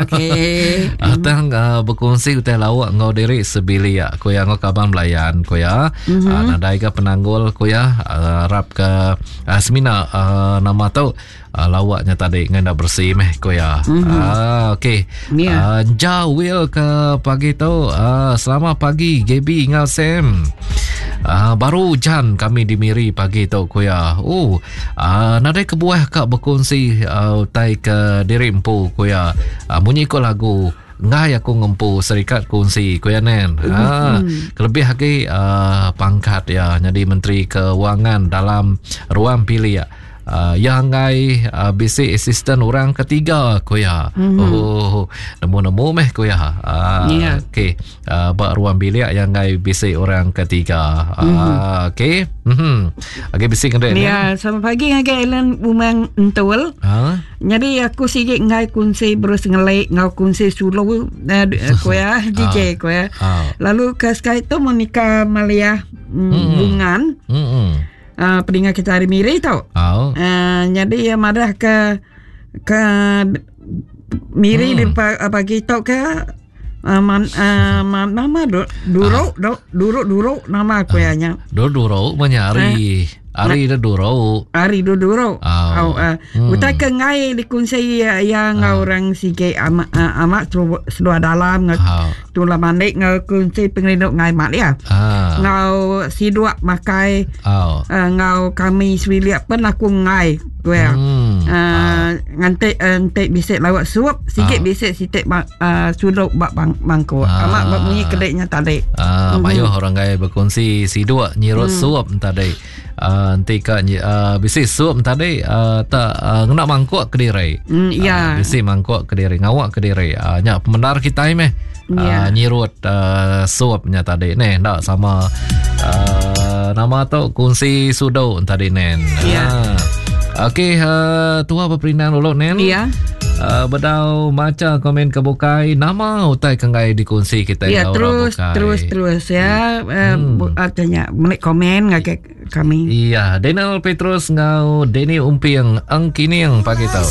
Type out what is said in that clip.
Okey. Tang uh, berkongsi utai lauk enggau diri sebilik ku iya enggau kaban belayan ku iya. Mm -hmm. uh, nadai ga penanggul ku iya uh, arap ke uh, semina uh, nama tu uh, lauk nya tadi ngai enda bersih meh ku iya. Mm -hmm. uh, okey. Yeah. Uh, Ja Will ke pagi tu uh, selamat pagi Gaby enggau Sam. Uh, baru ujan kami di Miri pagi tu ku iya. Oh, uh, nadai kebuah ka berkongsi uh, utai ke diri empu ku iya. Uh, munyi ko lagu Enggai aku ngempu serikat kongsi ku iya nen. Ha, kelebih agi uh, pangkat iya nyadi Menteri Kewangan dalam ruang bilik. Uh, iya enggai uh, bisi asisten orang ketiga ku iya. Mm-hmm. Oh, nemu-nemu meh ku iya. Uh, yeah. Okey, uh, ba ruang bilik yang enggai bisi orang ketiga. Uh, mm-hmm. Okey. Mhm. Okey bisi ngedek ni. Ya, selamat pagi ngagai Ellen Umang Entul. Ha? Jadi aku sigi enggai kunsi berus ngelik ngau kunsi sulu uh, ku iya, DJ ku iya. Lalu ke sekali tu Monica Malia mm, mm. Bungan. Mm. Uh, peninga kita hari Miri tu. Oh. Uh, jadi ia madah ke ke Miri hmm. di pagi tu ke uh, man, uh, man, nama du, duro uh. du, duro duro nama aku uh. nya. Duro duro banyak hari. Uh. Hari dia duro. Hari dia duro. Oh. Oh, uh, hmm. Utai ke ngai dikunsi yang uh. orang sikit amat uh, amat seluar dalam ngau oh. Tulah mandi enggau kunsi pengerindu ngai mak dia. Ah. Enggau siduk makai. Oh. Uh, enggau kami sebilik pen aku ngai. Ku iya. Hmm. Uh, ah. Nganti uh, enti bisi lawak sup, sikit ah. bisi sitik uh, suduk ba bang, mangkuk. Ah. Amat ba munyi kedeknya tadi. Ah, mm-hmm. Mayuh orang ngai berkongsi siduk nyirut mm. sup tadi. Uh, enti ka uh, bisi sup tadi uh, tak uh, ngena mangkuk kediri. Mm, ya. Uh, bisi mangkuk kediri, ngawak kediri. Uh, nya pemendar kitai meh. Yeah. Uh, nyirut uh, sup nya tadi neh ndak sama uh, nama tu kongsi sudu tadi nen. Yeah. Uh. Okey, uh, tua beperindang dulu nen. Ya. Uh, bedau maca komen ke bukai nama utai ke enggai dikongsi kita Ya, enggau orang terus bukai. terus terus ya. Hmm. Uh, artinya melik komen ngagai kami. Iya, Daniel Petrus enggau Danny Umping Engkining pagi tu.